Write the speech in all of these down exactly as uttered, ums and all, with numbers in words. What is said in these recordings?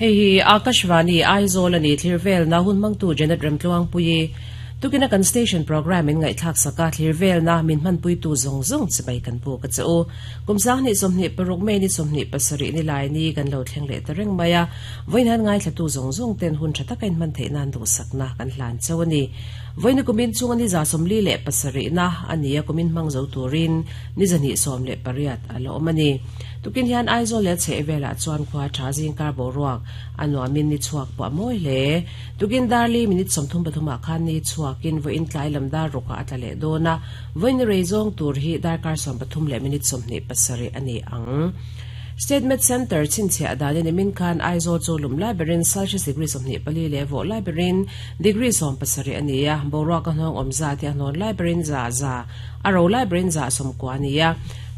Hei Akashvani Aizawl ani Thlirvel na hun mangtu Janet Remtluang pui tukina kan station program in ngai thak saka Thlirvel na min man pui tu zong zong chibai kan pu ka cheu kumsang ni somni paruk me ni somni pasari ni lai ni kan lo thleng le tareng maya voin han ngai thlatu zong zong ten hun thata kain man theina du sakna kan hlan chawani voin kumin chung ani za somli le pasari na ania kumin mang zo turin ni zani som le pariat alo omani tukin hian Aizawl le che vela chuan khwa tha jing kar bo ruak anuamin ni chuak pa moi le tukin darli minute somthum pathuma khan ni chuakin vo in tlai lam dar roka atlale dona voin reizong tur hi dar kar som pathum le minute somni pasari ani ang Statement Center chinchia adani ni min khan Aizawl cholum library Celsius degree somni pali le vo library degree som pasari ania boruak anong omza ti anon library za za aro library za som ko ania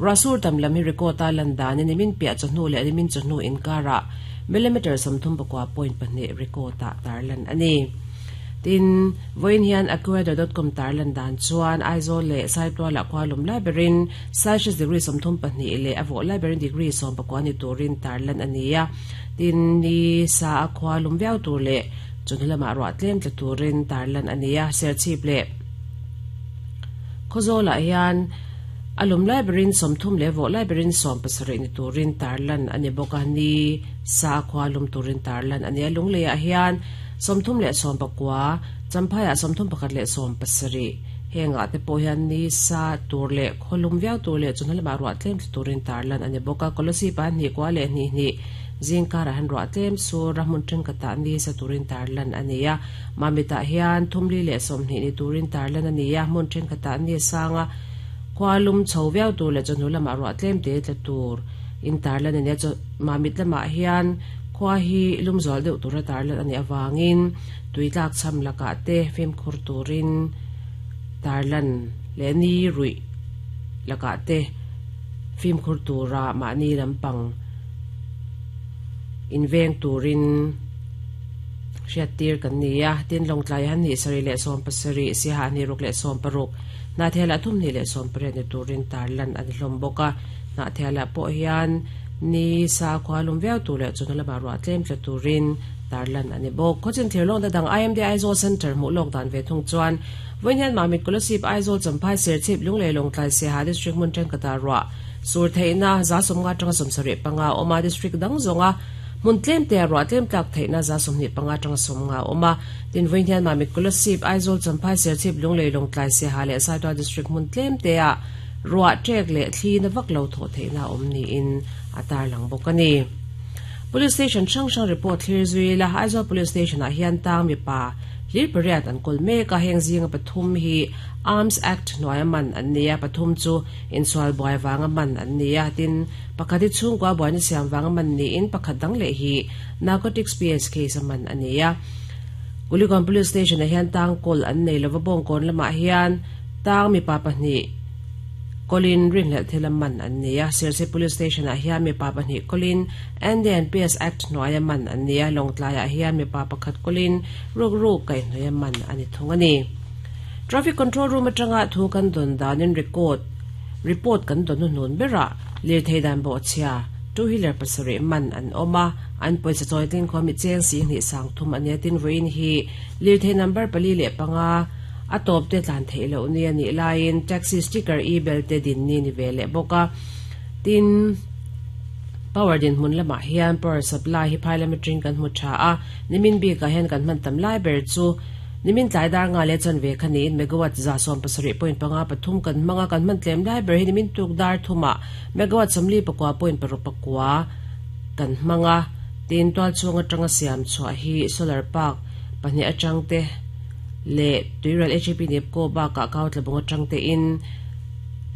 rasur tam lami record landan ni min pia chonu le ni min chonu in kara millimeter somthum pakwa point pahnih record ta tarlan ani tin voin hian aqueduct dot com tarlan dan chuan Aizawl le Saitual la khwalum library Celsius degree somthum pahnih le avo library degree som pakwa ni turin tarlan ania tin ni sa khwalum viau tur le chunlama ro tlem tla turin tarlan ania serchip le khozola hian alum library somthum le vo library som pasari ni turin tarlan ani bokani sa khwalum turin tarlan ani lungle a hian somthum le som pakwa champhaya somthum pakhat le som pasari henga te po hian ni sa tur le kholum viau tur le chunhal ma ro tlem turin tarlan ani boka kolosi pa ni kwa le ni ni jingkara han ro tlem su ramun teng kata ni sa turin tarlan ania mamita hian thumli le somni ni turin tarlan ania mun teng kata ni sanga khwalum chhoviau tur le chunhul ma ro tlem te tla tur in tarlan ania mamit lama hian khwa hi lumzol deuh tura tarlan ani awangin tuitlak cham laka te fim khur turin tarlan le ni rui laka te fim khur tura mani lampang inveng turin hriat tir kan nia tin longtlai han ni sari le som pasari si ha ni ruk le som paruk na thela thum ni le som pare ni turin tarlan ani hlom boka na thela po hian ni sa khwalum veu tu le chunala ma ro tlem tla turin tarlan ani bok khochin therlong da dang I M D Aizawl Center mu lok dan ve thung chuan voinhian mamit kolosip Aizawl champhai serchip lungle longtlai se ha district mun teng kata ro sur theina za somnga tanga somsari panga oma district dang zonga mun tlem te ro tlem tlak theina za somni panga tanga somnga oma tin voinhian mamit kolosip Aizawl champhai serchip lungle longtlai se ha le saitwa district mun tlem te a ruwa trek le thli na vak lo tho theina omni in atar lang bokani police station chang chang report thlir zui la Aizawl police station a hian tang mi pa hlir pariat an kol me ka heng zinga pathum hi Arms Act noya man an nia pathum chu insual boy wanga man an nia tin pakhati chung kwa boy ni siam wanga man ni in pakhat dang le hi narcotics P S case man ania Kuligon police station a hian tang kol an nei lova bong kon lama hian tang mi pa pahnih Colin rin le thelaman an nia Serchhip police station a hian mi pa pahnih Colin N D N P S Act noya man an nia longtlai a hian mi pa pakhat Colin ruk ruk kai noya man ani thungani traffic control room atanga thu kan don danin record report kan don nun bera lir theidan bo chia two wheeler pasari man an oma an poisa choiting khomi cheng si ni sang thum ania tin voin hi lir thei number pali le panga atop te tlan theilo ni ani lain taxi sticker e belt te din ni ni vele boka tin power din mun lama hian power supply hi philometering kan mu tha a nimin bi ka hen kan man tam lai ber chu nimin tlai dar nga le chan ve khani in megawatt za som pasari point panga pathum kan manga kan man tlem lai ber hi nimin tuk dar thuma megawatt samli pakwa point paruk pakwa kan manga tin twal chunga tanga siam chwa hi solar park pahni atang te le tuiral H P nep ko ba ka kaut le bongo tangte in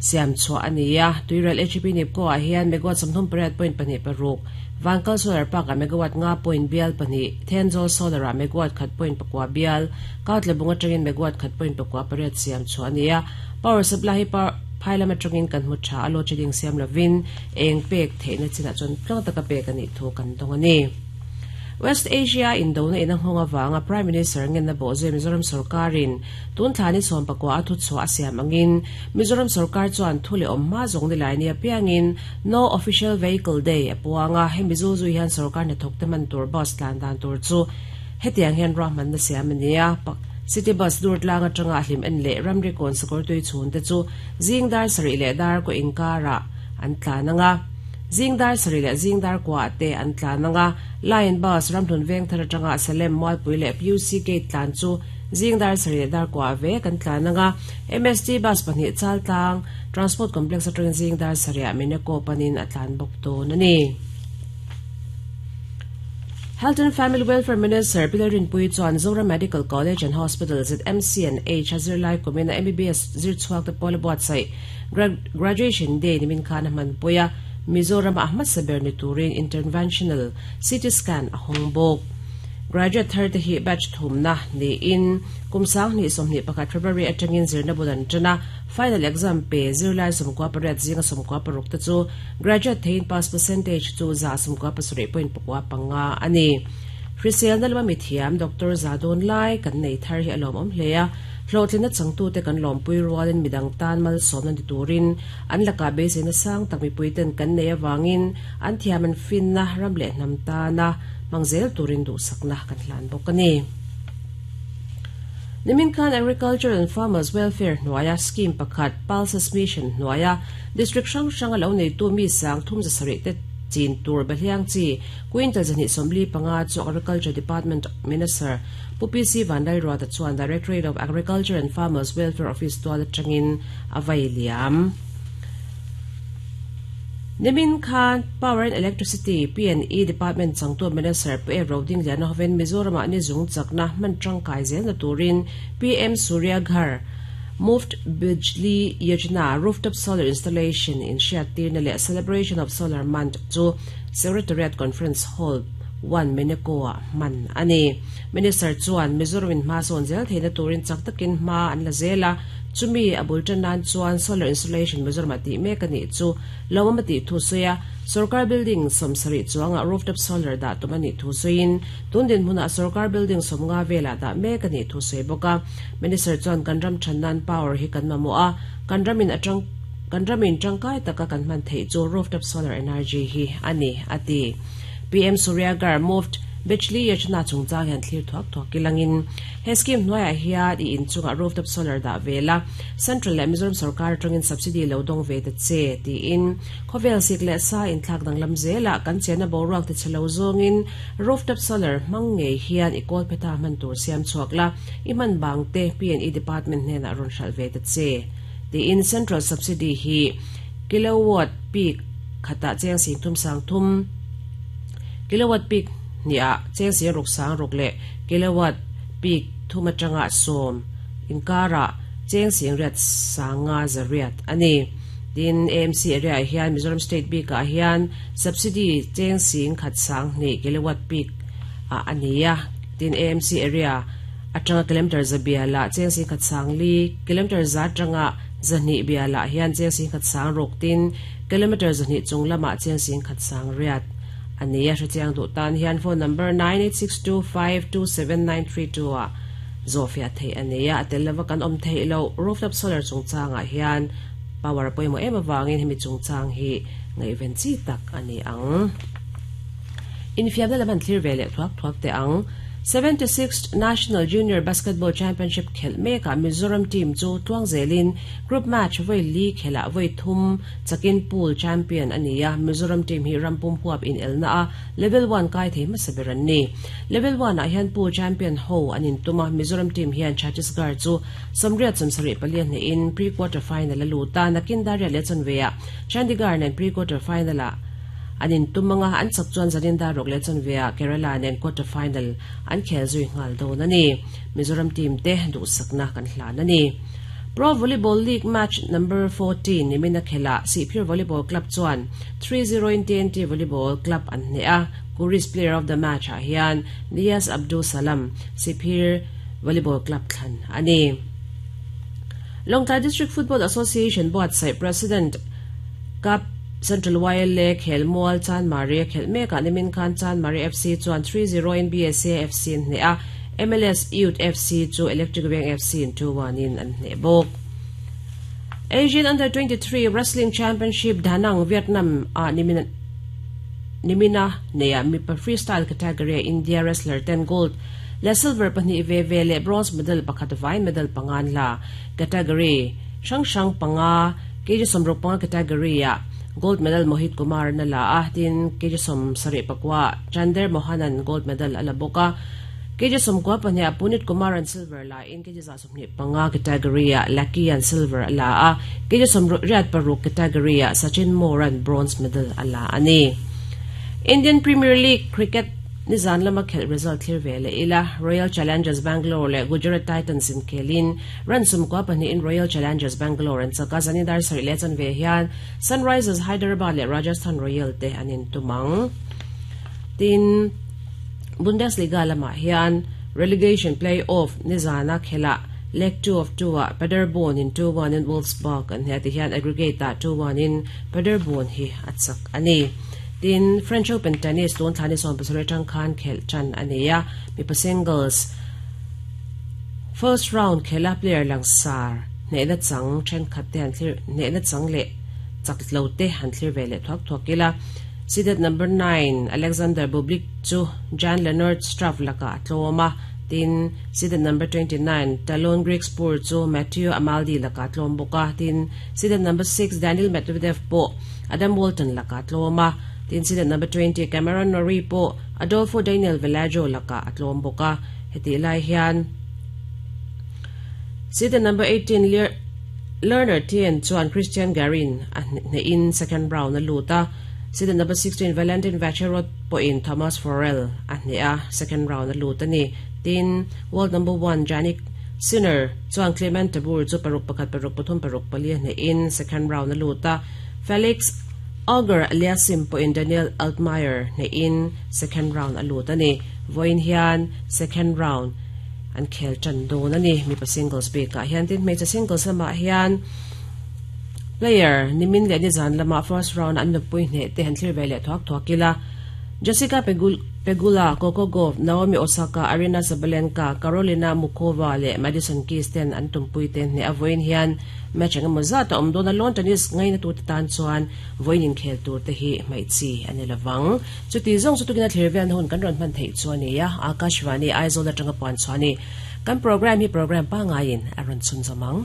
siam chwa ania tuiral H P nep ko a hian megawatt samthum pariat point pahnih paruk Vankal solar park a megawatt nga point bial pahnih Thenzawl solar a megawatt khat point pakwa bial kaut le bongo tangin megawatt khat point pakwa pariat siam chwa ania power supply hi phailam atangin kan mu tha alo cheding siam lovin eng pek theina china chon tlang taka pek ani thu kan dong ani West Asia indona in a nghawng avanga Prime Minister ngenna bawhzui Mizoram sorkarin tun thla ni sawm pakua a thu chhuah a siam angin Mizoram sorkar chuan thu leh awm hma zawng ni lai nia piangin No Official Vehicle Day a puanga hemi zu zui hian sorkar hnathawk te man tur bus tlan dan tur chu hetiang hian ruahmanna siam a ni a City bus dur tlang atanga hlim en leh ramri kawn sakawr tui chhun te chu zingdar sarih leh dar ko inkara an tlan anga zingdar sarih leh zingdar kwa te an tlan anga Lion bus ramhlun veng thar atanga Salem Mualpui leh P U C Gate tlan chu zingdar sarih leh dar kwa ve kan tlan anga M S T bus pahnih chal tlang Transport Complex atangin zingdar sarih Mineko panin a tlan bawk dawn ani. Health and Family Welfare Minister Pi Lalrinpuii chuan Zoram Medical College and Hospital Z M C and H a zirlai kumina M B B S zir chhuak te pawl a buatsaih graduation day nimin khan a hman pui a Mizoram a hmasa ber ni turin interventional C T scan a hawng bawk. Graduate thar te hi batch thumna niin kum sang hnih sawmhnih pakhat February atangin zirna bul an tana final exam pe zirlai sawmkua pariat zinga sawmkua paruk te chu graduate thein pass percentage chu za sawmkua pasarih point pakua panga ani. Hriselna lama mithiam Doctor Zadon Lai kan nei thar hi a lawm awm hle a hlawhtlina changtu te kan lawmpui rualin midang tan mal sawmna ni turin an laka beiseina sang tak mipui ten kan nei awangin an thiam an finna ram leh hnam tana mangzel turin duh sakna kan hlan bawk ani. Nimin khan Agriculture and Farmers Welfare hnuaia scheme pakhat Pulses Mission hnuaia district hrang hrang a lo nei tu mi sang thum za sarih te chin tur behliang chi quintal zahnih sawmli panga chu Agriculture Department Minister Pu P C Vanlalruata chuan Directorate of Agriculture and Farmers Welfare Office tual atangin a vai liam. Nimin khan Power and Electricity P and E Department changtu Minister Pu E Roding Liana hoven Mizoram ah ni zung chakna man tangkai zel na turin P M Surya Ghar Muft Bijli Yojana Rooftop Solar Installation in Hriattir na leh Celebration of Solar Month chu Secretariat Conference Hall one Mineko ah man ani. Minister chuan Mizoram in hma sawn zel theina turin chak takin hma an la zela chumi abul tanan chuan solar installation Mizoram ati mek ani chu lawamati thu soya sarkar building somsari chuanga rooftop solar da tumani thu soin tundin hmuna sarkar building somnga vela da mek ani thu soi boka Minister chuan kanram thanan power hi kan mamo a kanramin atang kanramin tangkai taka kan man thei chu rooftop solar energy hi ani ati. P M Surya Ghar Muft Bijli Yojana chungchang hian thlir thuak thuak kilangin he scheme hnuaiah hian i inchungah rooftop solar dah vela Central leh Mizoram sarkar atangin subsidy lo dawng ve ta che tiin khawvel sik leh sa inthlak danglam zela kan chena boruak ti chhelo zawngin rooftop solar hmang ngei hian i kawl pheta hman tur siam chhuak la i hman bang te P and E Department hnenah rawn hral ve ta che tiin Central subsidy hi kilowatt peak khata cheng sing thum sang thum kilowatt peak nia cheng sing ruk sang ruk le kilowatt peak thuma tanga som inkara cheng sing riat sanga zariat ani. Tin A M C area hian Mizoram State bik ah hian subsidy cheng sing khat sang ni kilowatt peak a ania tin A M C area atanga kilometer zabia la cheng sing khat sang li kilometer za tanga zahni bia la hian cheng sing khat sang ruk tin kilometer zahni chunglama cheng sing khat sang riat ania hrichiang du tan hian phone number nine eight six two five two seven nine three two a zofia thei ania atel kan om thei lo rooftop solar chungchanga hian power poimo em awangin hemi chungchang hi ngai ven chi tak ani ang infiamna laman thlir ve leh thuak thuak te ang seventy-sixth National Junior Basketball Championship khel meka Mizoram team chu tuang zelin group match voi li khela voi thum chakin pool champion ania Mizoram team hi rampum huap in elna a level one kai thei masaberan ni level one a hian pool champion ho anin tuma Mizoram team hian Chhattisgarh chu samriat samsari palian ne in pre quarter final aluta nakin daria le chonveya Chandigarh nen pre quarter final a anin tumanga an chak chuan zanin dar rok le chonvea Kerala nen quarter final an khel zui ngal dawn ani Mizoram team te du sakna kan hlan ani. Pro Volleyball League match number fourteen nimina khela Sihphir Volleyball Club chuan three zero in T N T Volleyball Club an hne a Kuris player of the match ah hian Nias Abdul Salam Sihphir Volleyball Club thlan ani. Lawngtlai District Football Association board sai President Kap Central Y L A Khelmual Chanmari khel meka nimin khan Chanmari F C chuan three zero in B S A F C in hne a M L S Youth F C chu Electric Veng F C in two one in an hne bawk. Asian Under twenty-three Wrestling Championship Danang Vietnam a nimin nimina neya mipa freestyle category India wrestler ten gold le silver pahnih ve ve le bronze medal pakhat vai medal pangan la category sang sang panga kg somruk panga category a gold medal Mohit Kumar na la a tin kg som sari pakwa Chander Mohanan gold medal ala boka kg somkwa pahnih Punit Kumar and silver la in kg za somni panga category a Lucky and silver la a kg somruk riat paruk category a Sachin Moran bronze medal ala ani. Indian Premier League Cricket nizan lama khel result thlir vele ila Royal Challengers Bangalore le Gujarat Titans in khelin ransom kwa pahnih in Royal Challengers Bangalore an chaka zanidar sari le chan ve hian Sunrisers Hyderabad le Rajasthan Royal te anin tumang. Tin Bundesliga lama hian relegation play-off nizana khela leg two of two a Paderborn in two one in Wolfsburg an heti hian aggregate ta two one in Paderborn hi atsak ani. Tin French Open tennis tun thani som pasarih tang khan khel chan ania mipa singles first round khela player langsar ne na chang then khat te han thlir ne na chang le chak lo te han thlir ve le thak thakila seeded number nine Alexander Bublik chu Jan Leonard Struff laka tloma tin seeded number twenty-nine Talon Grigspur chu Matthew Amaldi laka tlom boka tin seeded number six Daniil Medvedev po Adam Walton laka tloma tin seeded number twenty Cameron Norrie po Adolfo Daniel Velajo laka atlom boka heti lai hian seeded number eighteen Lerner Tien chuan Christian Garin ne in second round na luta seeded number sixteen Valentin Vacherot po in Thomas Forel ne a second round na luta ni tin world number one Jannik Sinner chuan Clement Tabur chu paruk pakhat paruk pathum paruk pali ne in second round na luta Felix Auger Aliasim po in Daniel Altmaier ne in second round aluta ni voin hian second round an khel chan do na ni mi pa singles be ka hian tin hmeichhe singles lama hian player nimin le ni zan lama first round an nupui hne te han thlir ve leh thuak thuakila Jessica Pegula, Coco Gauff, Naomi Osaka, Arina Sabalenka, Carolina Mukova le Madison Keys ten an tumpui ten hne a voin hian match ang emaw zat a awm dawn a lawn tennis ngaina tu te tan chuan voin in khel tur te hi hmeichhi ani lovang chuti zawng chu tukina thlir vel na hun kan rawn hman theih chu ani a Akashvani Aizawl atanga puan chuani kan program hi program pangaiin a rawn chhun zawmang.